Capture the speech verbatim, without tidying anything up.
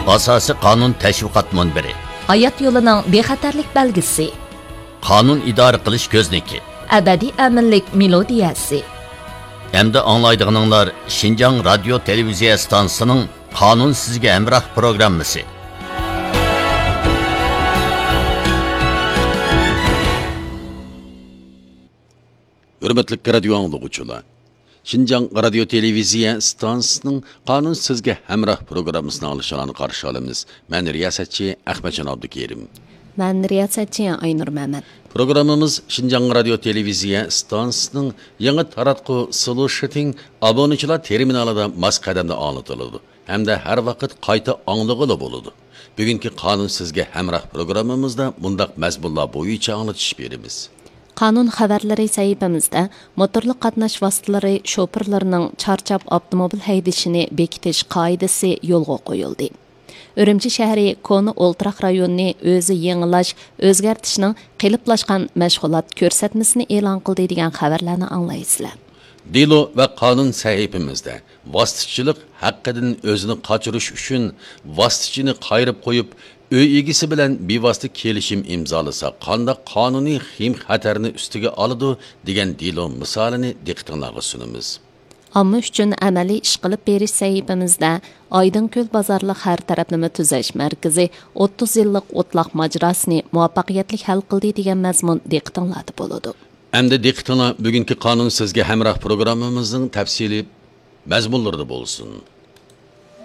ئاساسىي قانۇن تەشۋىقات مۇنبىرى. ھايات يولىنىڭ بىخەتەرلىك بەلگىسى. قانۇن ئىدارە قىلىش كۆزنىكى. ئەبەدىي ئەمىنلىك مېلودىيەسى. ئەمدى ئاڭلايدىغىنىڭلار شىنجاڭ رادىيو تېلېۋىزىيە ئىستانسىسىنىڭ قانۇن سىزگە ھەمراھ پروگراممىسى. ھۆرمەتلىك رادىيو ئاڭلىغۇچىلار! شىنجاڭ رادىيو تېلېۋىزىيە ئىستانسىسىنىڭ قانۇن سىزگە ھەمراھ پروگراممىسىنى ئاڭلىشىڭلارنى قارشى ئالىمىز. مەن رىياسەتچى ئەخمەتجان ئابدۇكېرىم. مەن رىياسەتچى ئاينۇر مەمەت. پروگراممىمىز شىنجاڭ رادىيو تېلېۋىزىيە ئىستانسىسىنىڭ يېڭى تاراتقۇ سلۇشىتىڭ ئابۇنىچىلار تېرمىنالىدا ماس قەدەمدە ئاڭلىتىلىدۇ ھەمدە ھەر ۋاقىت قايتا ئاڭلىغىلى بولىدۇ. بۈگۈنكى قانۇن سىزگە ھەمراھ پروگراممىمىزدا مۇنداق مەزمۇنلار بويىچە ئاڭلىتىش بېرىمىز. قانۇن خەۋەرلىرى سەھىپىمىزدە موتورلۇق قاتناش ۋاسىتىلىرى شوپۇرلىرىنىڭ چارچاپ ئاپتوموبىل ھەيدىشىنى بېكىتىش قائىدىسى يولغا قويۇلدى. ئۈرۈمچى شەھىرى كونا ئولتۇراق رايونىنى ئۆزى يېڭىلاش، ئۆزگەرتىشنىڭ قېلىپلاشقان مەشغۇلات كۆرسەتمىسىنى ئېلان قىلدى دېگەن خەۋەرلەرنى ئاڭلايسىلەر. دېلو ۋە قانۇن سەھىپىمىزدە ۋاسىتىچىلىق ھەققىدىن ئۆزىنى قاچۇرۇش ئۈچۈن ۋاسىتىچىنى قايرىپ قويۇپ، ئۆي ئىگىسى بىلەن بىۋاسىتە كېلىشىم ئىمزالىسا، قانداق قانۇنىي خېيىم-خەتەرنى ئۈستىگە ئالىدۇ، دېگەن دېلو مىسالىنى دىققىتىڭلارغا سۇنىمىز. ئامما ئۈچۈن ئەمەلىي ئىش قىلىپ بېرىش سەھىپىمىزدە ئايدىڭكۆل بازارلىق ھەر تەرەپلىمە تۈزەش مەركىزى ئوتتۇز يىللىق ئوتلاق ماجىراسىنى مۇۋەپپەقىيەتلىك ھەل قىلدى، دېگەن مەزمۇن دىققىتىڭلاردا بولىدۇ. ئەمدى دىققىتىڭلار بۈگۈنكى قانۇن سىزگە ھەمراھ پروگراممىمىزنىڭ تەپسىلىي مەزمۇنلىرىدا بولسۇن.